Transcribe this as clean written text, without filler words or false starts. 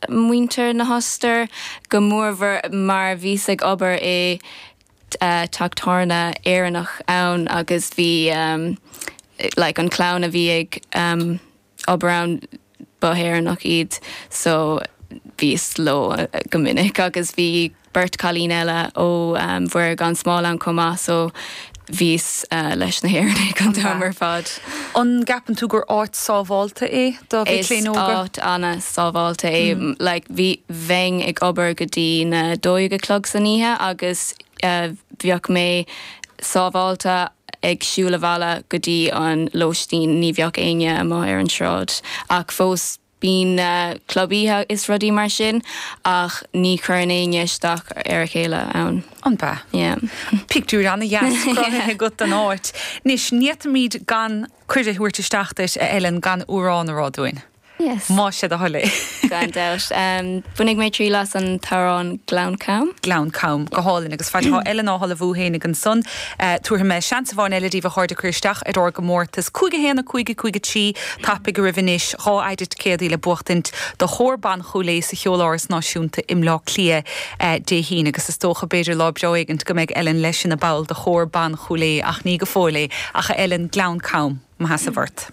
Muintir na hOstaire, go mórmhór mar bhíos ag obair i teach tábhairne Éireannach ann agus bhí like an clann a bhí ag obair ann ba hÉireannach iad so bhíos leo go minic agus bhí beirt cailín eile ó Mhuire gan Smál ann chomh maith so bhíos leis na hÉireannaigh an t-am ar fad. An gceapann tú gur áit sábhálta é do mhic léinn óga? Is áit ana-sábhálta é. Like bhí, bheinn ag obair go dtí na 12 a chlog san oíche agus bheadh mé sábhálta ag siúl abhaile go dtí an lóistín, ní bheadh éinne amuigh ar an sráid ach fós Bíonn club oíche is rudaí mar sin ach ní chuireann éinne isteach ar a chéile ann. An b'ea? Yeah. Pictiúr ana-dheas cruthaithe agat den áit. Anois, ní fhéadfaimid gan cuireadh a thabhairt isteach duit, a Ellen, gan amhrán a rá dúinn. Yes. Más é do thoil é. Gan dabht. Bainfidh mé triail as an t-amhrán Gleann Cam. Gleann Cam. Go hálainn. Agus fad atá Ellen á hullmhú fhéinig ansan, tabharfaidh mé seans amháin eile daoibh a chairde cur isteach ar ár gcomórtas. 5 1 5 5 3 Tapaigh oraibh anois 2 fhaide ticéadaí le buachtaint do Chór Ban Chúil Aodha sa Cheoláras Náisiúnta i mBleá Cliath Dé hAoine agus is dócha b'fhéidir lá breá éigint go mbeidh Ellen leis ina ball de Chór Ban Chúil Aodha ach ní go fóill é. Ach a Ellen, Gleann Cam, mo sheasamh ort.